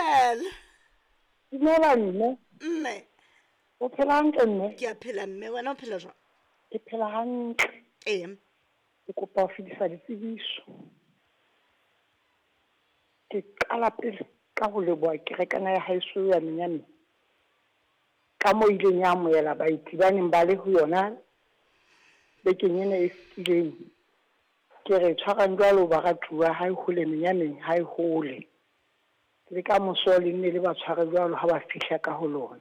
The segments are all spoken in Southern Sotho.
Dumela. Dumela mme. Mme. O phela hantle mme? Ke a phela mme, wena o phela jwang? Ke phela hantle. Ee. Ke kopa ho fetisa ditsebiso. Ke qala pele ka ho leboha kerekana ya haeso ya Menyane. Ka moo ileng ya amohela baeti ba neng ba le ho yona bekeng ena e fetileng. Ke re tshwarang jwalo baratuwa ha e hole Menyaneng ha e hole. Le ka moso le nne le ba tshware jwalo ha ba fihla ka ho lona.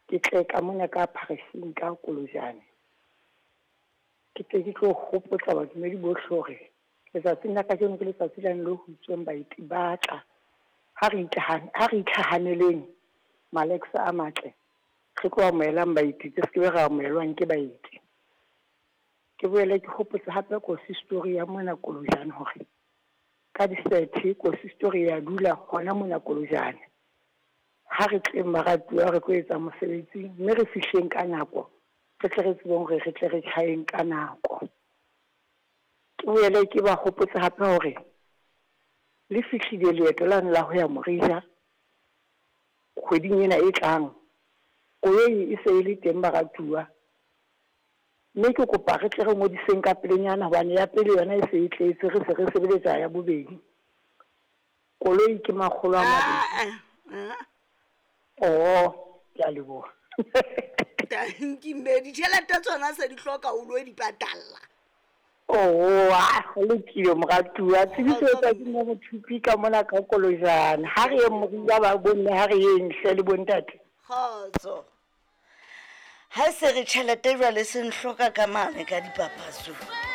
Ke tle ka mona ka pharising ka Kolojane. Ke tle ke tlo hopotsa badumedi bohle hore letsatsing la kajeno ke letsatsi lane le ho itsweng baeti ba tla. Ha re ha re itlhahaneleng Malex a matle, re tlo amohelang baeti re se ke be ra amohelwang ke baeti. Ke boele ke hopotse hape kosistory ya mona Kolojane hore ka di-30 kosistory ya dula hona mona Kolojane. Ha re tleng baratuwa re tlo etsa mosebetsi mme re fihleng ka nako, re tle re tsebeng hore re tle re tjhaeng ka nako. Ke boele ke ba hopotse hape hore le fihlile leeto lane la ho ya Morija kgweding ena e tlang. Koloi e se e le teng baratuwa, mme ke kopa re tle re ngodiseng ka pelenyana hobane ya pele yona e se e tletse, re se re sebeletsa ya bobedi. Koloi ke 200. Oh, ke a leboha. Tanki mme, ditjhelete tsona se di hloka o lo di patalla. Oh, a ho lokile moratuwa. Tsebiso e tswa ke mme Mothupi ka mona ka Kolojane. Ha re yeng Morija ba bomme, ha re yeng hle le bontate. Kgotso. Ha se re tjhelete jwale se nhloka ka mane ka dipapatsong.